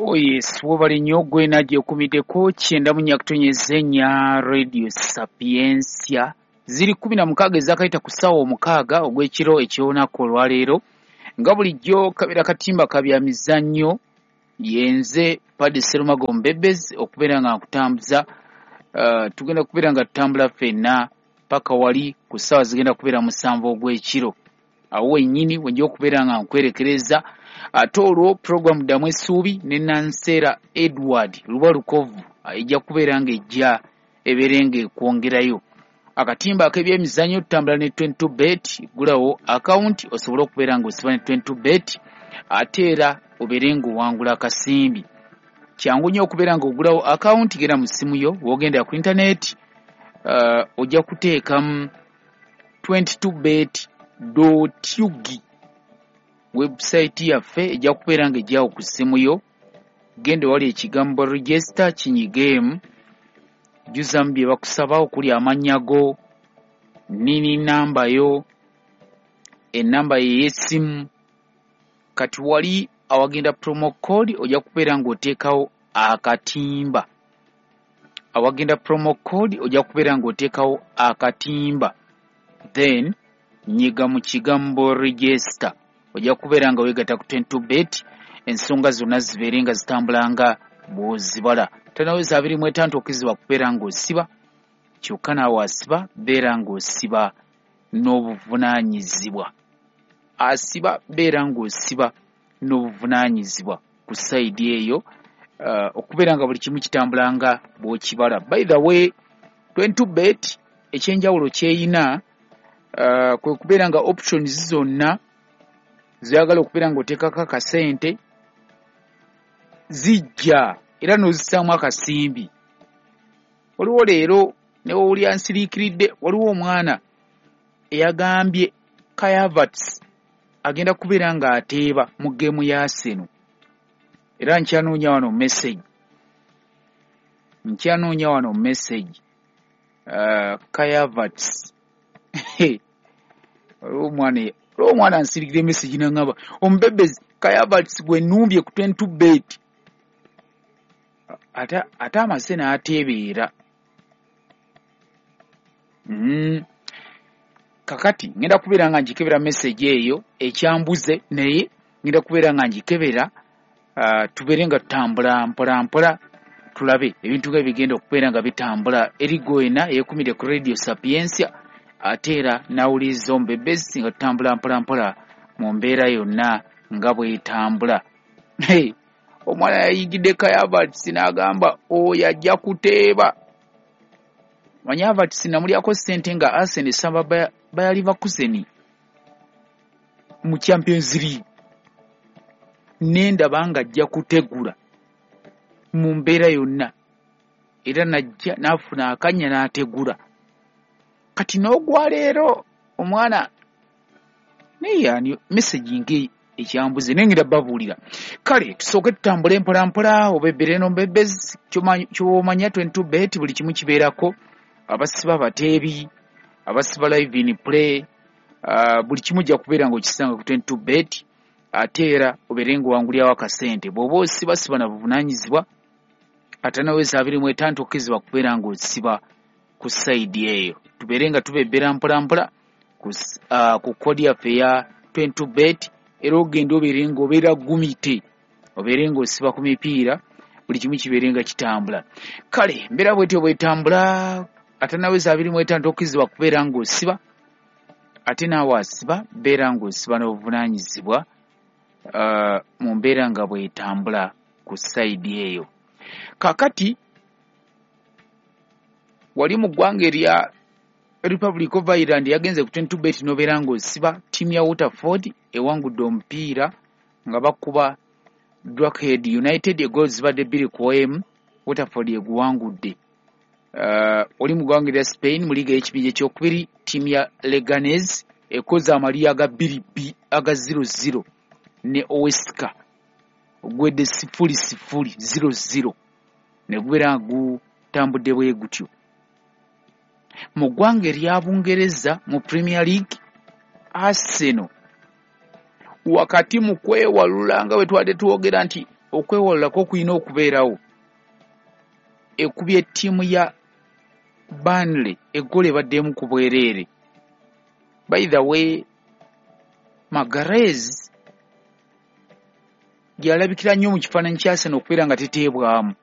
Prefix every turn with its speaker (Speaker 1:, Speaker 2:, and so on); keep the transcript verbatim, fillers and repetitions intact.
Speaker 1: Oh yes, webale nnyo gwe nagyekumiddeko kyenda mu nnya kutonnyeza ennya Radio Sapientia. Ziri kkumi na mukaaga ezakayita ku ssaawa omukaaga ogw'ekiro eky'olunaku olwaleero. Nga bulijjo kabeera katimba ka bya mizannyo, yenze Paddy Serumago Mbebezi okubeera nga nkutambuza. Uh, tugenda kubeera nga tutambula ffenna paka wali ku ssaawa zigenda kubeera musanvu ogw'ekiro. Awo wennyini wenja okubeera nga nkwerekereza. Ate olwo puroguramu Ddamu Essuubi ne Nanseera Edward Luba Lukovu ejja kubeera ng'ejja ebeere ng'ekwongerayo. Akatimba ak'ebyemizannyo tutambula ne twenty-two bet, ggulawo akawunti osobole okubeera ng'osiba ne twenty-two bet ate era obeere ng'owangula akasimbi. Kyangu nnyo okubeera ng'ogulawo akawunti, genda mu ssimu yo, w'ogenda ku intaneti, uh, ojja kuteekamu twenty-two bet dot U G. Website yaffe ejja kubeera ng'ejjawo ku ssimu yo. Genda wali ekigambo register kinyigeemu, jjuzamu bye bakusaba okuli amannya go, nini namba yo, ennamba ye ey'essimu. Kati wali awagenda promo code ojja kubeera ng'oteekawo akatimba. Awagenda promo code ojja kubeera ng'oteekawo akatimba, then nyiga mu kigambo register. Ojja kubeera nga weegatta ku twenty-two bet, ensonga zonna zibeere nga zitambula nga bw'ozibala. Tanaweza abiri mu etaano tokkirizibwa kubeera ng'osiba, kyokka naawe asiba beera ng'osiba n'obuvunaanyizibwa. Asiba beera ng'osiba n'obuvunaanyizibwa ku sayidi eyo, uh, okubeera nga buli kimu kitambula nga bw'okibala. By the way, twenty-two bet ekyenjawulo ky'eyina, uh, kwe kubeera nga options zonna zoyagala okubeera ng'oteekako akasente zijja era n'ozissaamu akasimbi. Waliwo leero ne w'owulira nsiriikiridde, waliwo omwana eyagambye Kai Havertz agenda kubeera ng'ateeba mu geemu ya Arsenal. Era nkyanoonya wano message, nkyanoonya wano message, uh, Kai Havertz. Waliwo omwana, waliwo omwana ansirikira message n'aŋŋamba omubebezi Kai Havertz gwe nnumbye ku twenty-two bet, ate, ate amaze n'ateebeera. Mm. Kakati ngenda kubeera nga ngikebera message eyo ekyambuze, naye ngenda kubeera nga ngikebera, uh, tubeere nga tutambula mpola mpola tulabe ebintu nga bigenda okubeera nga bitambula. Eri gwena eyekumire ku Radio Sapientia ate era n'awuliriza omubebezi nga tutambula mpola mpola mu mbeera yonna nga bw'etambula. Hey, omwana yayingidde Kai Havertz n'agamba oyo ajja kuteeba. Manyi Havertz namulyako ssente nga Arsenal esamba Bayer Leverkusen mu Champions League, nendaba nga ajja kutegula mu mbeera yonna, era najja n'afuna akannya n'ategula. Kati n'ogwa leero omwana naye ani message ng'eyo ekyambuze, naye ngenda babuulira. Kale tusooke tutambule mpola mpola, obebbere n'omubebezi, ky'omanya twenty-two bet buli kimu kibeerako, abasiba abateebi, abasiba live in play, uh, buli kimu ojja kubeera ng'okisanga ku twenty-two bet, ate era obeere ng'owangulirawo akasente. Bw'oba osiba siba na buvunaanyizibwa, ate naweza abiri mu etaano tokkirizibwa kubeera ng'osiba ku sayidi eyo. Tubeere nga tubebbera mpola mpola ku, uh, ku kodi yaffe eya twenty-two bet, era ogenda obeere ng'obeera gumite, obeere ng'osiba ku mipiira, buli kimu kibeere nga kitambula. Kale mbeera bwetyo bwetambula, ate naweza abiri mu etaano tokkirizibwa kubeera ng'osiba, ate naawe asiba beera ng'osiba n'obuvunaanyizibwa, uh, mu mbeera nga bwetambula ku sayidi eyo. Kaakati wali mu ggwanga erya Republic of Ireland yagenze ku twenty-two bet n'obeera ng'osiba ttiimu ya Waterford ewangudde omupiira nga bakuba Drogheda United egoolo zibadde bbiri ku emu, Waterford eguwangudde. Uh, oli mu ggwanga erya Spain mu liiga y'ekibinja ekyokubiri, ttiimu ya Leganes ekoze amalya aga bbiri bi aga zero zero ne Huesca ogwedde sifuli sifuli zero zero, ne gubeera nga gutambudde bwe gutyo. Mu ggwanga erya Bungereza mu Premier League, Arsenal wakati mu kwewalula nga bwe twadde twogera nti Okwewalulako kulina okubeerawo. Ekubye ttiimu ya Burnley eggoolo ebaddemu ku bwereere. By the way, Magalhaes yalabikira nnyo mu kifaananyi kya Arsenal okubeera nga teteebwamu.